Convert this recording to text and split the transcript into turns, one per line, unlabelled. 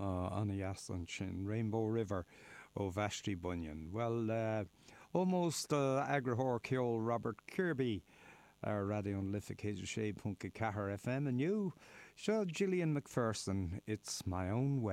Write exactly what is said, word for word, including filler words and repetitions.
An-dheas ansin Rainbow River ó Vashti Bunyan. Well uh, ómós d'eagarthóir ceoil Robert Kirby ar Raidió na Life céad sé ponc ceathair FM inniu, seo Gillian McPherson, It's My Own Way.